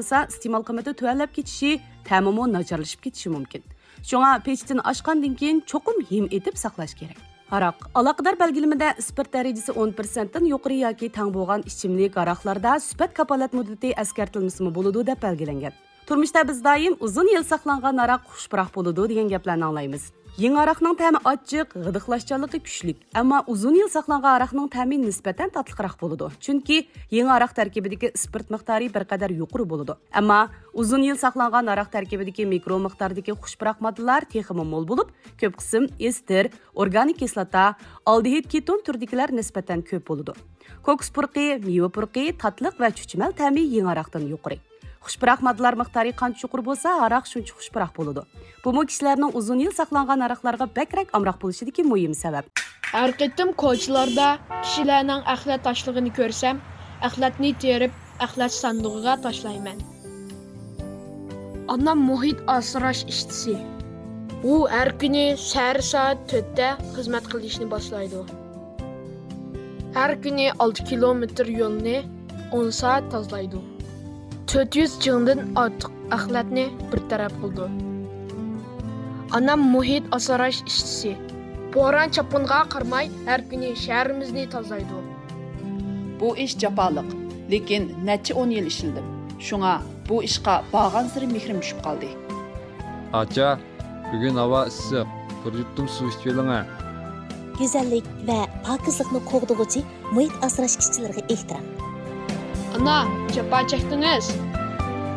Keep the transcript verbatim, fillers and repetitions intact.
ئىستېمال قىممىتى تۆۋەنلەپ كېتىشى، تەمىمۇ ناچارلىشىپ كېتىشى مۇمكىن. شۇڭا پېچىتىنى ئاچقاندىن كېيىن چوقۇم ھىم ئېتىپ ساقلاش كېرەك. ھاراق. ئالاقىدار بەلگىلىمىدە ئىسپىرت دەرىجىسى ئون پىرسەنتتىن يۇقىرى ياكى تەڭ بولغان ئىچىملىك ھاراقلاردا سۈپەت كاپالەت مۇددىتى ئەسكەرتىلمىسىمۇ بولىدۇ دەپ بەلگىلەنگەن. تۇرمۇشتا بىز دائىم ئۇزۇن يىل ساقلانغان ھاراق خۇشپۇراق بولىدۇ دېگەن گەپلەرنى ئاڭلايمىز. يېڭى ھاراقنىڭ تەمى ئاچچىق، غىدىقلاشچانلىقى كۈچلۈك، ئەمما ئۇزۇن يىل ساقلانغان ھاراقنىڭ تەمى نىسبەتەن تاتلىقراق بولىدۇ. چۈنكى يېڭى ھاراق تەركىبىدىكى ئىسپىرت مىقدارى بىر قەدەر يۇقىرى بولىدۇ. ئەمما ئۇزۇن يىل ساقلانغان ھاراق تەركىبىدىكى مىكرو مىقداردىكى خۇشپۇراق ماددىلار تېخىمۇ مول بولۇپ، كۆپ قىسىم ئېستېر، ئورگانىك كىسلاتا، ئالدېھىد كېتون تۈرىدىكىلەر نىسبەتەن كۆپ بولىدۇ. كوكۇس پۇرىقى، مېۋە پۇرىقى، تاتلىق ۋە چۈچۈمەل تەمى يېڭى ھاراقتىن يۇقىرى. خۇشپۇراق ماددىلار مىقدارى قانچە يۇقىرى بولسا، ھاراق شۇنچە خۇشپۇراق بولىدۇ. بۇمۇ كىشىلەرنىڭ ئۇزۇن يىل ساقلانغان ھاراقلارغا بەكرەك ئامراق بولۇشىدىكى مۇھىم سەۋەب. ھەر قېتىم كوچىلاردا كىشىلەرنىڭ ئەخلەت تاشلىغىنى كۆرسەم، ئەخلەتنى تېرىپ، ئەخلەت ساندۇقىغا تاشلايمەن. ئانام مۇھىت ئاسراش ئىشچىسى. ئۇ ھەر كۈنى سەھەر سائەت تۆتتە خىزمەت قىلىشنى باشلايدۇ. ھەر كۈنى ئالتە كىلومېتىر يولنى ئون سائەت تازىلايدۇ. تۆت يۈز چىڭدىن ئارتۇق ئەخلەتنى بىر تەرەپ قىلىدۇ. ئانام مۇھىت ئاسراش ئىشچىسى. بوران-چاپقۇنغا قارىماي، ھەر كۈنى شەھىرىمىزنى تازىلايدۇ. بۇ ئىش جاپالىق، لېكىن نەچچە ئون يىل ئىشلىدىم. شۇڭا بۇ ئىشقا بارغانسېرى مېھرىم چۈشۈپ قالدى. ئاچا، بۈگۈن ھاۋا ئىسسىق، بىر يۇتۇم سۇ ئىچىۋېلىڭە. گۈزەللىك ۋە پاكىزلىقنى قوغدىغۇچى مۇھىت ئاسراش ئىشچىلىرىغا ئېھتىرام. ئانا، جاپا چەكتىڭىز.